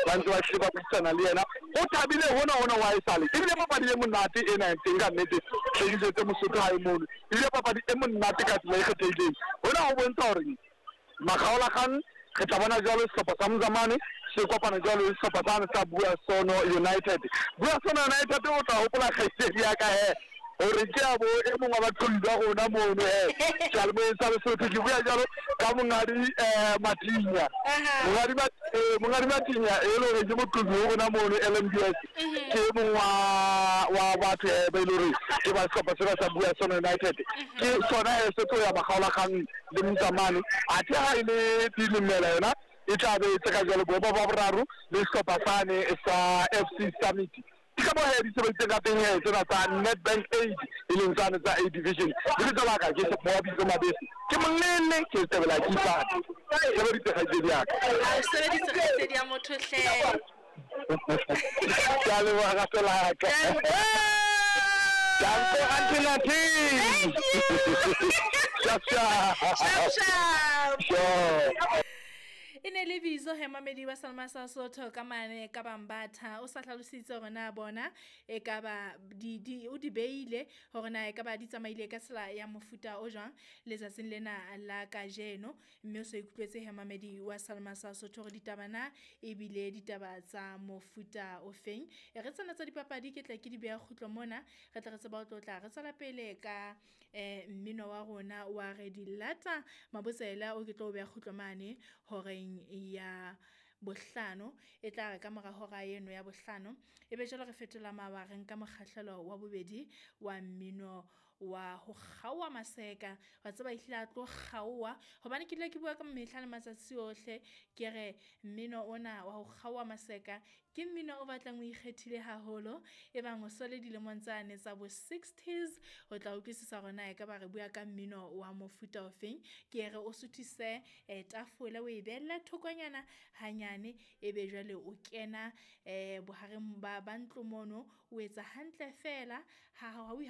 Ba ntse ba hlile ba buisana le yena. O thabile hona hona wa esale. Ebile papadi e monate ena e teng ka nnete. Hlekisetse Mosotho hae mono. Ebile papadi e monate ka tsela e kgethehileng. Hona ho bontsha hore makgaolakgang re tla bona jwalo sehlopha sa Mzamane se kopana jwalo le sehlopha sane sa Buasono United. Buasono United o tla hopola kgaitsedi ya ka he hore ke a bo e mong wa baqholli ba rona mono he seyalemoyeng sa Lesotho. Ke bua jwalo ka Monghadi Matinya. Monghadi Monghadi Matinya e le hore ke moqolli ho rona mono LMBS. Ke e mong wa wa batho he ba e le hore ke ba sehlopha sena sa Buasono United. Ke sona he se tlo ya makgaolakgang le Mzamane. Athe ha e le Dilemela yona e tla be e tseka jwalo boemo ba boraro le sehlopha sane sa FC Summit. Ke ka moo he di sebeditseng ka teng he tsena tsa Nedbank Aid e leng tsane tsa A Division. Lebitso la ka ke Moabitso Mabese. Ke molele ke tebela ke ipata. Sebeditse kgaitsedi ya ka. A o sebeditse kgaitsedi ya motho hle. Ke a leboha rato la ka. Danko Auntie Nathi. Thank you. Sharp sharp. Sharp sharp. Sure. E ne le bitso he mamedi wa Salma sa Sotho ka mane ka Bambatha o sa hlalositse hore na bona e ka ba di di o di beile hore na e ka ba di tsamaile ka tsela ya mofuta o jwang letsatsing lena la kajeno. Mme o so ikutlwetse he mamedi wa Salma sa Sotho hore ditaba na ebile ditaba tsa mofuta o feng. E re tsena tsa dipapadi ke tla ke di beha kgutlo mona re tle re tseba ho tlotla re tswela pele ka mmino wa rona wa re di lata Mabotsela o ke tlo beha kgutlo mane horeng ya bohlano e tla re ka mora hora eno ya bohlano e be jwale re fetola mawa re nka mokgahlelo wa bobedi wa mmino wa ho kgaoha maseka. Wa tseba ehlile a tlo kgaoha hobane ke dula ke bua ka mehla le matsatsi ohle ke re mmino ona wa ho kgaoha maseka ke mmino o batlang o ikgethile haholo. E bang o so le dilemong tsane tsa bo 60s o tla utlwisisa hore na ekaba re bua ka mmino wa mofuta ofeng. Ke re o suthise tafole o e behelle thokonyana hanyane ebe jwale o kena bohareng ba ntlo mono o etsa hantle fela ha o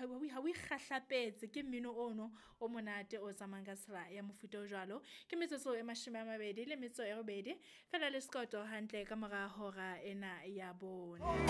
ikgahlapetse ke mmino ono o monate o tsamayang ka tsela ya mofuta o jwalo. Ke metsotso e 28 fela le sekoto hantle ka mora hora ena ya bone.